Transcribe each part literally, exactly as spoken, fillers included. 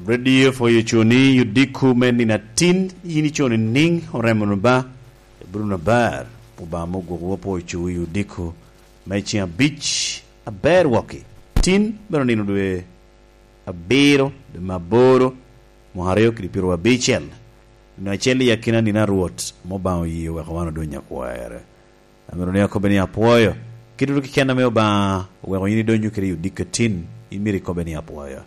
Radio for you cuni yudiko me nino atin, yin iconi niŋ oremo no ba, ibruno ber, Obama ogwoko wa po cu yudiko me ceng abic aber woki. Tin bero nino dwe abiro, dwe me aboro, mwaka aryo kede pyero abicel. Nino acel i akina nino a Rwot, ame Obaŋa oye weko wan odony akwerre. Amito ni akobbe ni apwoyo. Kit ru keken ame Obaŋa oweko yin idonyo kede i odiko atin, imito ikobbe ni apwoyo.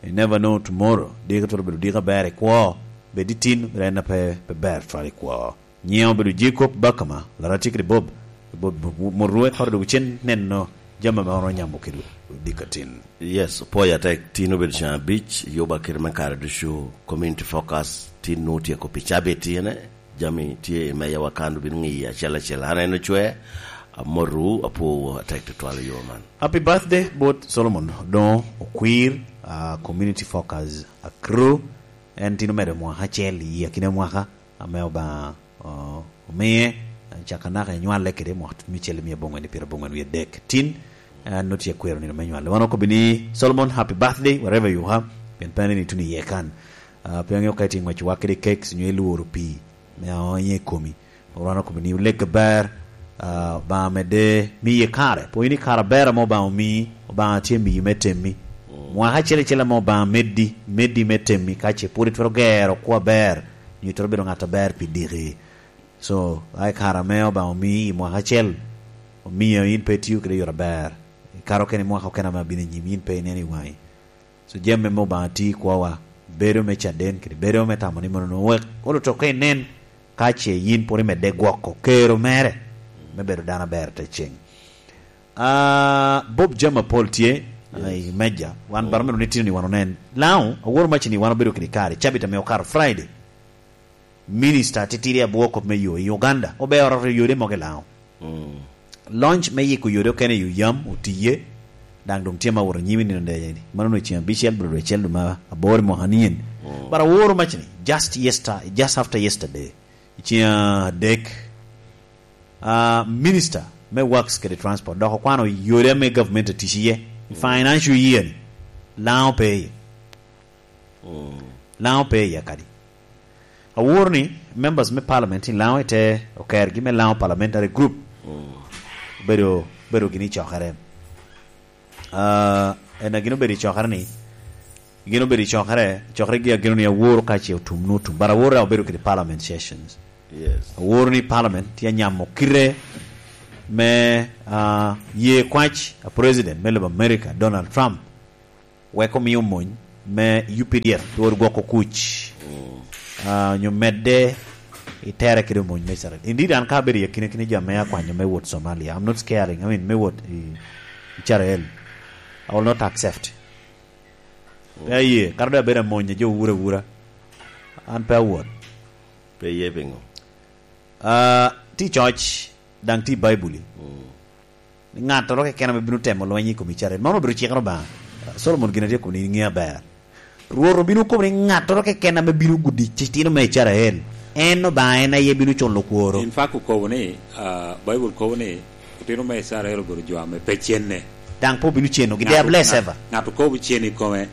You never know tomorrow. Diko twero bedo diko aber i kwo. Bed i tin, bed en a pe, pe ber twal i kwo. Nyiŋa obedo Jacob Bakama, Laratik Ribob, Ribob Murue, koro dok cen neno jami ame wan onyamo kede odiko atin. Yes, opwoyo atek, tin obedo cen abic, yuba kede me kare ducu, community focus, tin nwoŋo tyeko pi cabit ene, jami tye i meja wa kan, obino ŋiyo acel acel. An en ocwe, amotu, apwowu atek tutwal i yo man. Happy birthday, bot Solomon, doŋ okwir, ah, community focus, akro, en tin omedo mwaka acel i akina mwaka, ame Obaŋa, o-, omie, caka naka enywale kede mwaka tutumicel mia abongwen i pyera abongwen wie adek. Tin, an nwoŋo tye akwero nino me nywale. Wan okobbi ni, Solomon, happy birthday, wherever you are, pien pe aneni ituno iye kan. Ah, pe aŋeo ka itye ŋwec wak kede kek, onyo ilworo pii, me aonyo i komi. Wan okobbi ni, oleg aber, ah, Obaŋa medde miye kare. Pwony ni kare aber ame Obaŋa omii, Obaŋa tye miyi me temmi. Mm. Mwaka acel acel ame Obaŋa meddi, meddi me temmi, ka ce pwod itwero gero kwo aber, nyo itwero bedo ŋat aber pi diki. So, ai kare ame Obaŋa omii i mwaka acel, omio yin pe itio kede yot aber. Ikato kene i mwaka okene ame abino i nyim, yin pe ineno i waŋi. So, jami ame Obaŋa tio i kwowa, bedo me caden kede bedo me tamo ni mono nwoŋo wek olo to ka inen, ka ce yin pwod imedde gwoko kero mere me bedo dano aber te ceng. Ah, Bob, jami apol tye, ah, i meja. Wan bara mero ni tino ni wan onen. Laŋo, aworo mac ni wan obedo kede kare, cabit ame okato Friday. Minista titidi abwo kop me yo i Uganda, obe oroto yode mogo i Laŋo. Mm. Launch me yiko yode okene i Uyam otiye, daŋ doŋ tye ma wot anyim i nino dece ni. Mano onwoŋo ceng abicel, bro, dwe acel, dwe ma aboro i mwaka nien. Mm. But aworo mac ni, just yester-, just after yesterday, i ceng adek, ah, Minister me Works kede Transport dok okwano yode ame government otic iye, i financial year ni, Laŋo pe iye. Mm. Laŋo pe iye kadi. Aworo ni members me parliament i Laŋo ite okergi me Laŋo Parliamentary Group. Mm. Bedo, bedo gini cokere. Ah, en a gin obedo i cokere ni, gin obedo i cokere, cokere gi ageno ni aworo ka ce otum, nu otum. But aworo a obedo kede parliament sessions. Yes. Aworo ni parliament tye anyamo kite me, ah, ye kwac a president me lobo America, Donald Trump, wek omio mony me U P D F twero gwoko kuc, mm, ah, onyo medde i tere kede mony me Israel. Indeed, an ka abedo i akina kina jo ame akwanyo me wot Somalia, I'm not scaring, I mean, me wot i, i Israel, I will not accept. Mm. Pe aye, kara doŋ abedo amony a jo wura wura, an pe awot. Pe iye piŋo? Ah, ti coc, daŋ ti Baibuli. Mm. Ni ŋattoro keken ame bino temo lweny i kom Icrael, man obedo cikere Obaŋa. Solomon gin atye kobo ni ŋe aber. Rwot obino kobo ni ŋattoro keken ame bino gudi citino me Icrael, en Obaŋa en aye bino culo kworo. In fact okobo ni, ah, Baibul kobo ni otino me Icrael obedo jo ame pe cenne. Daŋ pe obino cenogi. They are blessed ever. Ŋat okobo cen i kome,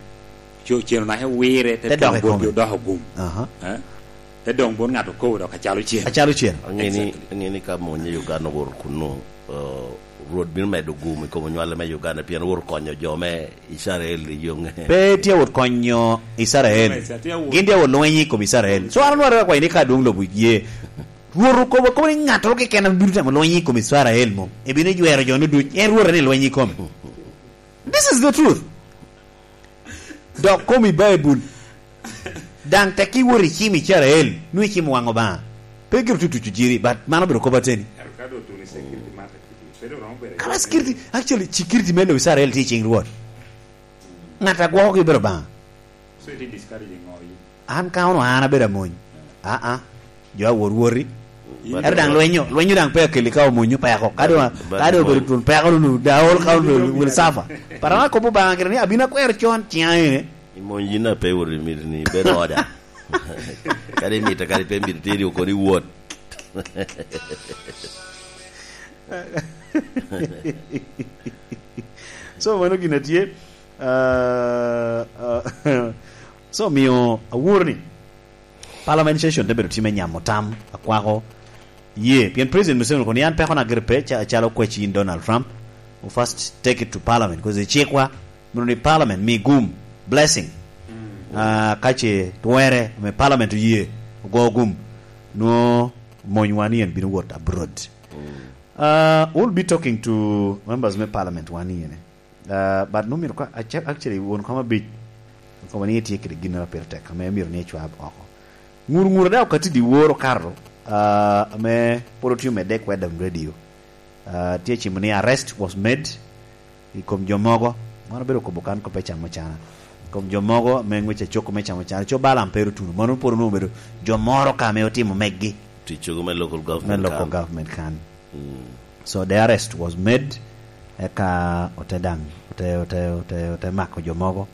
co-, cen onake wire, te dok i kome, odoko gum. Aha. Eh? Te doŋ bot ŋat okobo dok acalo cen. Acalo cen. Aŋe ni, exactly, aŋe ni ka mony i Uganda owoto kunnu, eh, Rwot bino medo gum i kom onywale me Uganda, pien owoto konyo jo me Icrael i yoŋe. Pe tye awot konyo Icrael. Tye awot. Gin tye awot lweny i kom Icrael. So, an anwara akwayo ni ka dwoŋ lobo ye, Rwot okobo, kobo ni ŋattoro keken ame bino temo lweny i kom Icrael mom, ebino jwero jo-nu duc. En Rwot en i lweny i kome. This is the truth. Dok komi Baibul. Daŋ tek iwot icimo Icrael, nwoŋo icimo waŋ Obaŋa. Pe gire tutuco jiri, but mano obedo kop ateni. Ka doŋ otuno i security market, pe doŋ romo bedo. Kara security, actually, security me lobo Icrael tye i cing Rwot. Ŋat a gwokogi obedo Obaŋa. So it is discouraging ŋo yin? An ka onwoŋo an abedo amony. Aa, jo awot woti. Ero daŋ lwenyo, lwenyo daŋ pe akeli ka omonyo peko. Ka doŋ, ka doŋ obedo tun peko nu, da ol ka will suffer. But an akobo Obaŋa gire ni abino akwero con, ciŋa ene. I mony yin a pe wot i miti ni, bedo oda. Kadi imito, kadi pe imito, tye ri okoni wot. So, mano gin a tye. Ah, ah, So, omio aworo ni parliament session te bedo time nyamo tam, akwako ye, pien President Museveni okobo ni an pekona gire pe, ca-, calo okwec yin Donald Trump, we first take it to parliament, 'cause i cikwa, meno ni parliament mi gum, blessing. Ah, ka ce twerre, me parliament oye, ogo gum, nwo monywa ni en bino wot abroad. Ah, we'll be talking to members me parliament wan iyene. Ah, but no myero ka, aca-, actually, won koma abic, koma ni etye kede gin a pire tek, ame myero ni ecwab oko. Ŋur ŋur daŋ okatti dyewor okato, ah, ame pwod otye omedde i Kwedam Radio. Ah, tye cimo ni arrest was made i kom jo mogo. Wan obedo kobo kan kop me camo cana. I kom jo mogo ame ngwec acoko me camo cana. Co Balaam pe ru tuno. Mano pwod onwoŋo obedo jo moro ka ame otimo meggi. Tic cogo me local government Me local kan. government kan. Mm. So the arrest was made, eka ote daŋ, ote, ote, ote, ote mako jo mogo.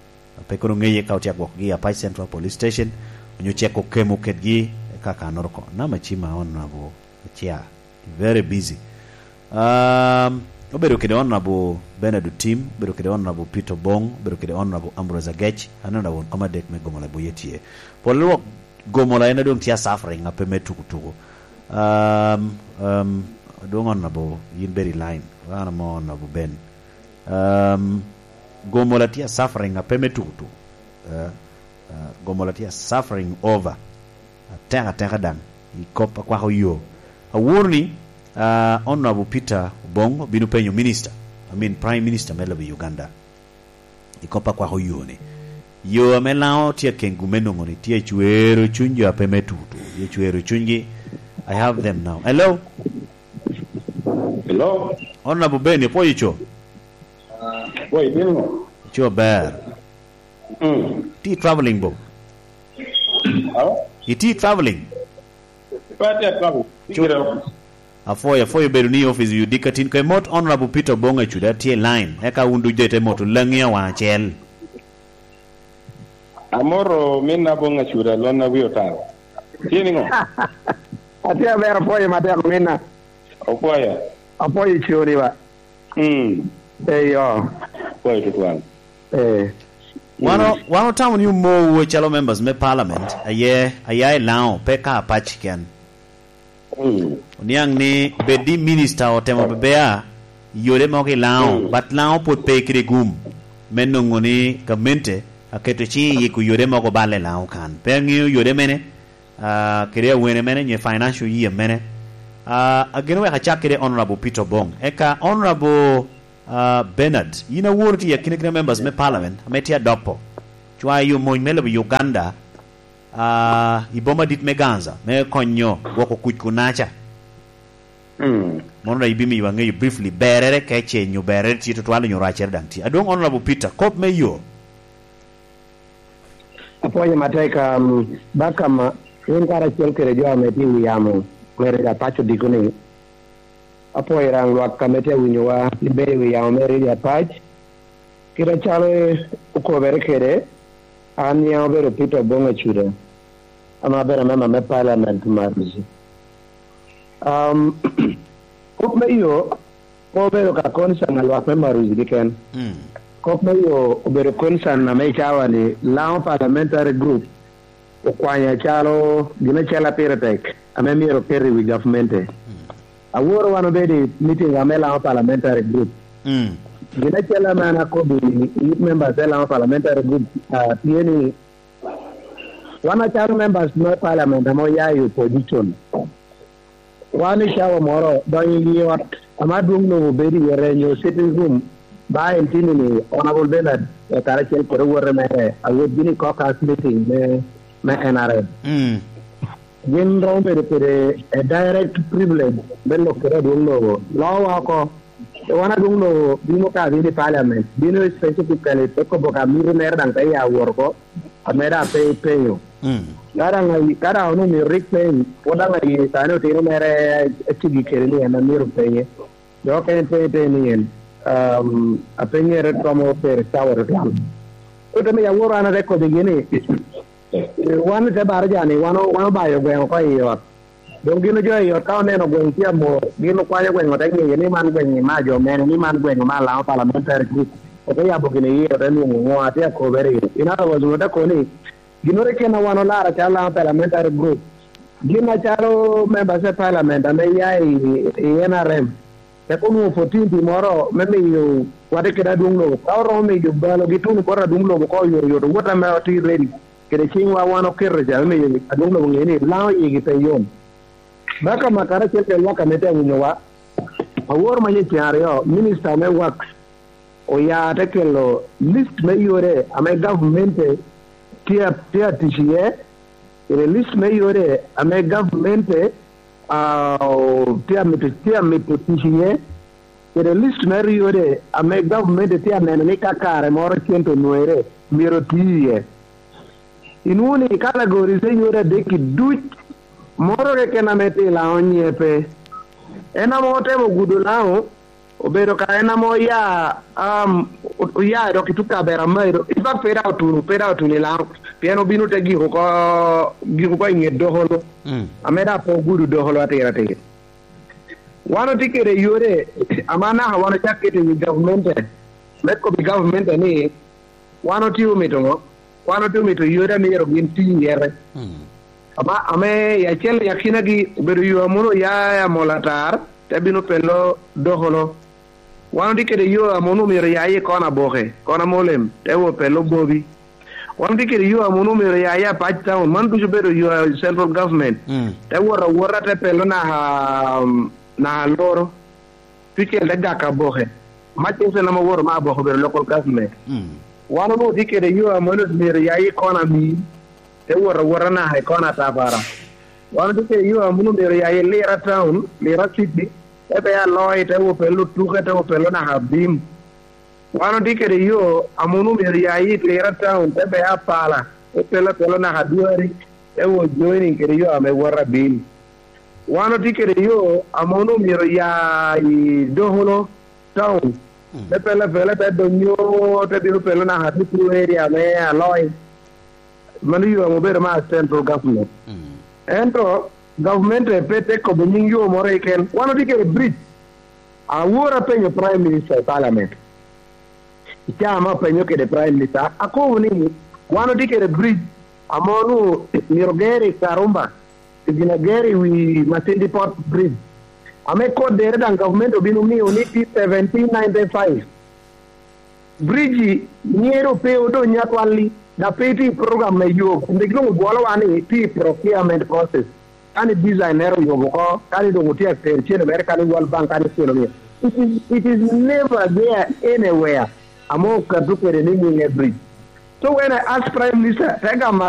Pe kono ŋeye ka otye agwokogi i Apac Central Police Station, onyo ceko kemo kedgi, eka kanoro oko. Nama cima Honorable Acia, very busy. Um, obedo kede Honorable Bernard Otim, obedo kede Honorable Peter Obong, obedo kede Honorable Ambrose Agech, aneno won koma adek me Gomola Buye tye. Pol lwok Gomola en adwong tye a suffering, ape me tuku tuku. Um, um, adwong Honorable, yin bedo i line. Wan amo Honorable Ben. Um, Gomola tye a suffering, ape me tuku tuku. Uh, uh, Gomola tye a suffering over. Atek ateka daŋ. I kop akwako yo. Aworo ni, uh, Honorable Peter Obong obino penyo minister. I mean, Prime Minister me lobo Uganda. I kop akwako yo ni. Yo ame Lango tye akengu me nwoŋo ni tye acwero cuny jo ape me tutu. Tye acwero cunygi. I have them now. Hello? Hello? Honorable Ben, ipwoyo co? Pwoyo, itimo ŋo? Co ber. Mm. Iti traveling bo? Hello? Iti traveling? Pe atye travel. Cu- Ikira. Apwoyo, apwoyo bedo ni office oyudi ka tin. Kwe mot Honorable Peter Obong Acuda tye i line. Eka wun ducu ite moto Langi awaŋ acel. Amoro min Abong Acuda lon a wi otaro. Tye niŋo? Atye aber, apwoyo matek minna. Opwoyo. Apwoyo coni ba. Mm. Eyo. Apwoyo tutwal. Eh. Wan o-, wan otamo ni omowu calo members me parliament, aye, aya i Lango, pe ka Apac ken. Mm. Oniaŋ ni bed ni minister otemo bebea i yode mogo i Lango, mm, but Lango pwod pe kede gum me nwoŋo ni gamente aketo ciŋ i yiko yode mogo balle i Lango kan. Pe aŋeo yode mene, ah, kede awene mene, nyo financial year mene. Ah, ageno wek acak kede Honorable Peter Obong. Eka Honorable, ah, Bernard, yin aworo tye i akina kina members me parliament ame tye adopo. Cwayo mony me lobo Uganda, ah, i boma dit me Ganza, me konyo gwoko kuc kunaca. Mm. Mono daŋ ibimiyo aŋeyo briefly, berere kece nyo berere tye tutwal nyo racere daŋ tye. Adwoŋ Honorable Peter, kop me yo. Apwoyo matek, um, Bakama, in karacel kede jo ame tye i wi yamo, mere ja paco diko ni, apwoyo raŋ lwak ame tye awinyowa, ibedo i wi yamo mere i Apac. Kit acalo okobere kede, an nyiŋa obedo Peter Obong Acuda, ame abedo amemba me parliament me Maruzi. Um, kop me yo, pe obedo ka concern a lwak me Maruzi keken. Mm. Kop me yo obedo concern ame i cawa ni Lango Parliamentary Group okwanyo acalo gin acel a pire tek ame myero oket i wi gavmente. Mm. Aworo wan obedo i meeting wa me Lango Parliamentary Group. Mm. Gin acel ame an akobo i youth members me Lango Parliamentary Group, ah, tye ni wan acalo members me parliament ame oya i opposition, wan i cawa moro donyo i ot ame adwoŋ lobo bedo iye, nyo sitting room, ba en tini ni Honorable Bernard, eh, karacel kede owote mere, awot gini i caucus meeting me, me N R M. Mm. Gin romo bedo kede a direct privilege me lok kede adwoŋ lobo. Lowa oko, wan adwoŋ lobo bino ka bino i parliament, bino specifically te kobo ka miti mere daŋ te ya wot oko, ame daŋ pe ipenyo. Mm. Ka daŋ ayi-, ka daŋ onwoŋo myero rik peny, pwod daŋ aye sani otino mere acigi kede ni en amyero penye. Dok en penye te ni en, um, apenyere romo pere cawa tutwal. Kut ame ya woro an ate kobigi ni, wan i te baraja ni, wan o-, wan obayo gweŋ oko i ot. Doŋ gin ojo i ot ka oneno gweŋ tye amor, gin okwanyo gweŋ ote ŋeye ni man gweŋ ma jo mene, ni man gweŋ ma Lango Parliamentary Group. Ote yabo gin i yie, ote nwoŋo ŋo atye akobere. In other words, ote koni, Ginnoro keken a wan olara calo Laŋo Parliamentary Group, gin acalo members of parliament ame ya i, i N R M, tek onwoŋo fourteen pi moro me miyo wate kede adwoŋ lobo. Ka oromo miyo balogi tuno bot adwoŋ lobo ko oyotoyot, owot ame otye ready, kede ciŋwa wan oketo ca me miyo adwoŋ lobo ŋe ni Laŋo yigi pe yom. Baka makara acel kede lwak ame te awinyowa, awor manyo i cen aryo, minista me Works oya te kelo list me yore ame gavmente tye a, tye a tic iye, kede list me yore ame gavmente, ah, o-, tye a mito, tye a mito tic iye, kede list me yore ame gavmente tye a neno ni ka kare moro cente onwere, myero oti iye. Inwoŋo ni categories me yore adek-ki duc, moro keken ame tye i Laŋo nyiŋe pe. En ame otemo gudo Laŋo, obedo ka en ame oya, um, o-, oya dok i tuko Kaberamaido, in fact pe daŋ otuno, pe daŋ otuno i Laŋo, pien obino te giko oko, giko oko i ŋet Dokolo, Mm. ame daŋ pe ogudo Dokolo atir atir. Wan otye kede yore ame anaka wan ocak keto i wi gavmente, me kobbi gavamente ni, wan otye omito ŋo? Wan otye omito yore a myero gin ti iye. Mm. Ama, ame i acel i akinagi obedo yo a mono oya i Amol Atar, te bino pelo Dokolo. Wan otye kede yo a mono myero oya i kona Boke, kona Molem, te wot pelo Bobi. Wan otye kede yo a mono myero oya i Apac Town, man ducu obedo yo a central government. Mm. Te wot awota, te pelo naka, naka Loro. Tucel te gak aboke. Macen en ame owoto me aboke obedo local government. Mm. Wan onwoŋo tye kede yo a mono myero ya i kona Amir, te wot awota naka i kona Atapara. Wan tye kede yo a mono myero ya i Lira Town, Lira City, te pe Aloi, te wot pelo Tuke, te wot pelo naka Abim. Wan otye kede yo a mono myero ya i Lira Town, te pe Apala, te pelo pelo naka Adwari, te wot joining kede yo ame woto Abim. Wan otye kede yo a mono myero ya i Dokolo Town, Mm. te pele pele, te donyo, te bino pelo naka Tutu area me Aloi. Mano yo ame obedo me central government. Mm. Ento gavumenti pe te kobo nyiŋ yo moro keken. Wan otye kede bridge. Awor apenyo Prime Minister i Parliament. I caa ame apenyo kede Prime Minister, akobo ni wan otye kede bridge ame onwoŋo myero ger i Karumba, i gin ager i wi Masindi Port Bridge, ame koddere daŋ gavumenti obino mio ni tye seventeen ninety-five. Bridge-i myero pe odony atwal-li, dok pe itye i program me yub, kun rik doŋ obwolowa ni tye i procurement process. Ka ni design-nere oyub oko, ka ni doŋ otye atero cene mere, ka ni World Bank, ka ni cene omio. It is, it is never there anywhere. Ame okato kede ni nyiŋe bridge. So when I ask Prime Minister, te gamo